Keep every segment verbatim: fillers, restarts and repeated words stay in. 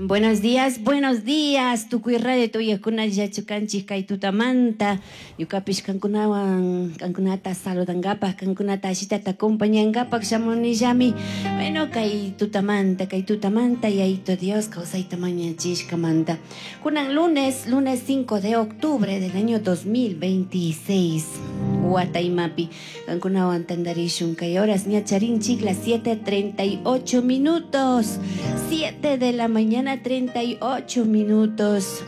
Buenos días, buenos días. Tukuy radio tuyakuna llachukanchik kay tutamanta. Ñukapish kankunawan kankunata saludangapak, kankunata ashitata acompañangapak shamunillami. Bueno, kay tutamanta, kay tutamanta Yayito Dios kawsayta mañachishkamanta. Kunan lunes, lunes cinco de octubre del año dos mil veintiséis. Wataymapi kankunawan tantarishun kay horas ña charinchik las siete treinta y ocho minutos. siete de la mañana treinta y ocho minutos.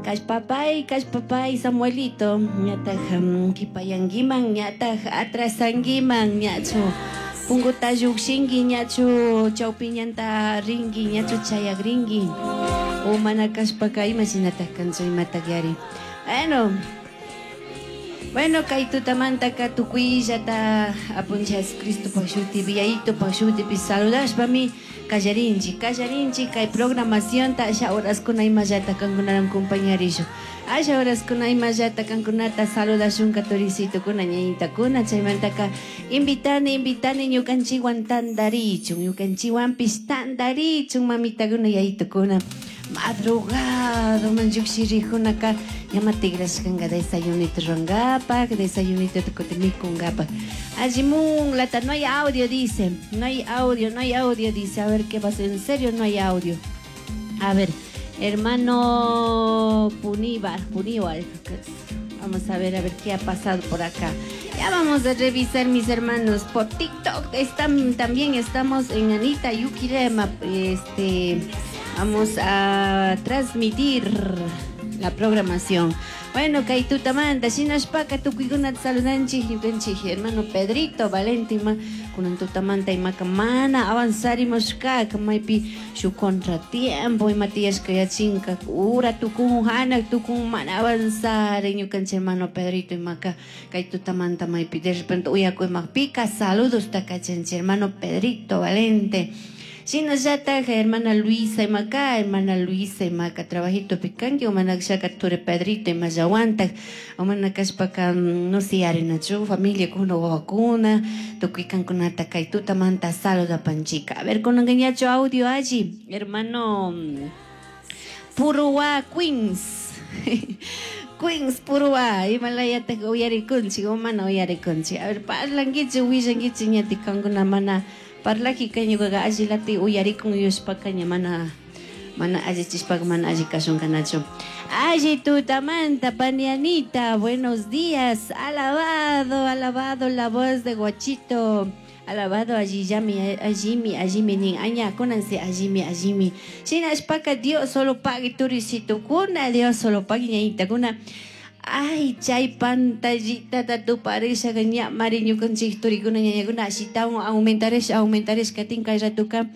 Kashpapay, kashpapay, Samuelito, ñataj um, kipayanguiman, ñataj atrasanguiman, ñachu punguta llukshinki, ñachu chawpiñanta rinki, ñachu chayagrinki. O mana kashpaka ima shinataj kanchu, imataj yari. Bueno, Bueno, kay tutamantaka tukuyllata apunchik Jesucristo pashutipi, Yayito pashutipi saludashpami kallarinchik, kallarinchik kay programacionta. Asha horaskuna imallata kankunawan compañarishun. Asha horaskuna imallata kankunata saludashunka turisitukuna, ñañitakuna. Chaymantaka invitani, invitani ñukanchikwan tantarichun, ñukanchikwanpish tantarichun, mamitakuna, yayitukuna. Madrugado man llukshirikunaka ñama tigrashkanka desayunito rurangapak, desayunito kutin mikungapak. Allimun lata, no hay audio, dice, no hay audio, no hay audio, dice. A ver qué pasa, en serio no hay audio. A ver, hermano Puníbar, Puníbar, vamos a ver, a ver qué ha pasado por acá. Ya vamos a revisar, mis hermanos, por TikTok están, también estamos en Anita Yuquilema, este, vamos a transmitir la programación. Bueno, kay tutamanta, shinashpaka tukuykunata saludanchik, ñukanchik hermano Pedrito Valente ima kunan tutamanta imaka mana avanzarimushkaka maypi shuk contratiempo ima tiyashka yachinka ura tukun hanak tukun mana avanzar ñukanchik hermano Pedrito imaka kay tutamanta maypi de repente uyaku imapika saludos takachanchik, hermano Pedrito Valente. Shinallataj hermana Luisa imaka, hermana Luisa imaka trabajito pikanki o mana shaka ture Pedrito imallawantaj o mana kashpaka no sé arinachu familia kuna wawakuna tukuy kankunata kay tutamanta saludapanchika. A ver, kunanka ñachu audio alli, hermano Purua Queens. Queens Purua, imalayataj uyarikunchik o mana uyarikunchik? A ver, parlankichik, willankichik ñati kankuna mana parlajika ñukaqa allilati uyarikun yushpaka ña mana mana allichishpaka mana alli kashunqanachu. Alli tutamanta, panianita, buenos días. Alabado, alabado la voz de Guachito. Alabado allillami, allimi, allimi nin aña, kunansi allimi, allimi. Shinashpaka Dios solo pagui turisitukuna, Dios solo pagui ñañitakuna. Ay, chay pantallita tuparisha ña mari ñukanchik turikuna ñañakuna ashitawan aumentaresh, aumentaresh katin kay ratuka.